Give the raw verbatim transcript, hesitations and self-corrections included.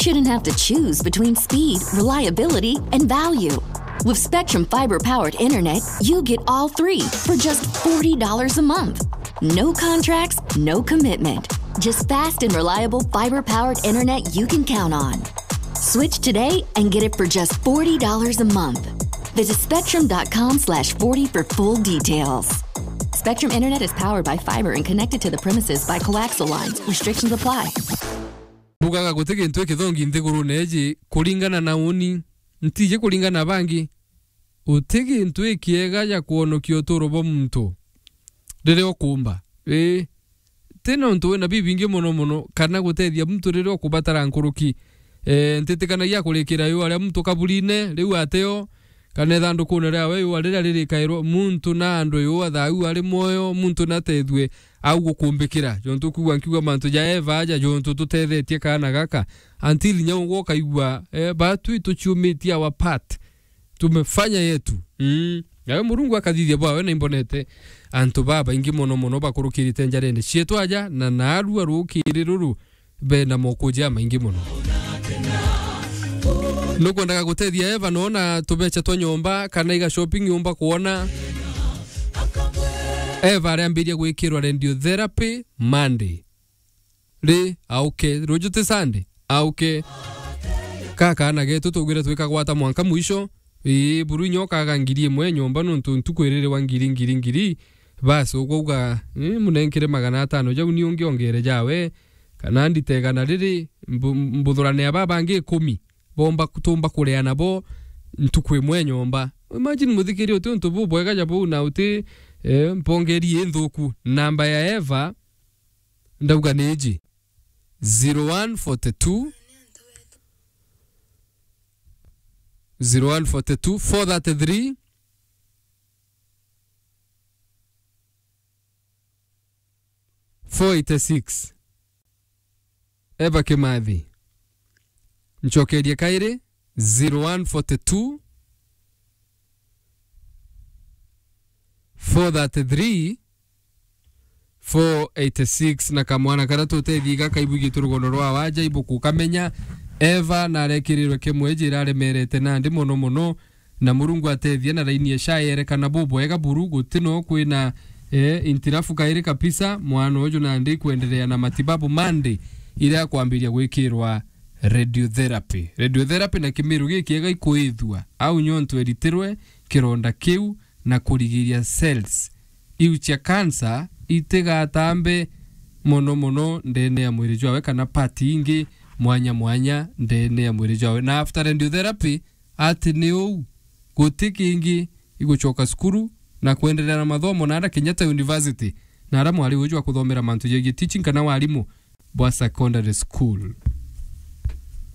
shouldn't have to choose between speed, reliability, and value. With Spectrum fiber powered internet, you get all three for just forty dollars a month. No contracts, no commitment. Just fast and reliable fiber powered internet you can count on. Switch today and get it for just forty dollars a month. Visit spectrum dot com slash forty for full details. Spectrum Internet is powered by fiber and connected to the premises by coaxial lines. Restrictions apply. Bugaga guti gintu ikithongi nthigurune iji kuringana na uni, ntiji kuringana na bangi. Uti gintu ikiega ja kwonokia uturo bwa muntu riria ukumba. Ii, ti nontu wina bibingi mono mono, kana gutethia muntu riria ukubatara nkuruki. Eh, ntitikanagia kurikira yua ria muntu kaburine, riu ateo, kana ithandukune riawe yua riria ririkairwa muntu na andu yua thau ari mwoyo, muntu natethue au gukumbikira. Jontu kwigua nkiuga mantu ja Eva aja, jontu tutethetie kaana gaka. Until nyau ukaigua, eh, batwi tuciumitie our part. Tumefanya yetu. Mm. Nawe Murungu akathithia bwawe, na imbonete antu babaingi mono mono bakurukirite njarene cietu aja, na naarua rukiri ruru bena moko jamaingi mono. Nukwendaga gutethia Eva, nona tubecha twa nyomba, kana iga shopping nyomba kuona. Eva ariambiria gwikirwa radiotherapy Monday. Ri, auke. Ruju ti Sunday? Auke. Ka kaana getu tugwire twikagwata mwanka mwisho. Ii, buru inya ukaga ngiri imwe nyomba nontu ntuku iriri wa ngiri, ngiri, ngiri. Basi, ukauga, ii, munenkire magana atano jau ni ungi ongere jawe. Kana ndite igana riri, mbu-, mbuthurane aba bangi ikumi. Bomba, tumba kuria nabo ntuku imwe nyomba. Imagine muthikiria uti untu bubwega ja buu na uti, eh, mpongeri inthuku. Namba ya Eva, ndauga ni iji, zero one forty two, zero one forty two, four thirty three, four eighty six. Eva Kimathi. Ncokerie kairi, zero one forty two, four thirty three, four eighty six, na kamwana karia tutethii gakaibu gitu rugono rwa waja ibu kukamenya. Eva narekirirwe kimwe jira aremerete nandi mono mono, na Murungu atethie na raini ya sha yerekana bubwega buru, guti no kwina, eh, intirafu kairi kabisa. Mwana uju nandi kwenderea na matibabu mandi iria akwambiria gwikirwa radiotherapy. Radiotherapy na kimiru gikiega ikuithua au nyontu eritirwe kironda kiu na kurigiria cells iu cia cancer itigatambe mono mono ndene ya mwiri jwawe kana part ingi mwanya mwanya ndene ya mwiri jwawe. Na after radiotherapy, ati ni uu, guti kingi igucoka cukuru na kwenderea na mathomo na ara Kenyatta University, na ara mwari uju wa kuthomera mantu jegie teaching kana warimu bwa secondary school.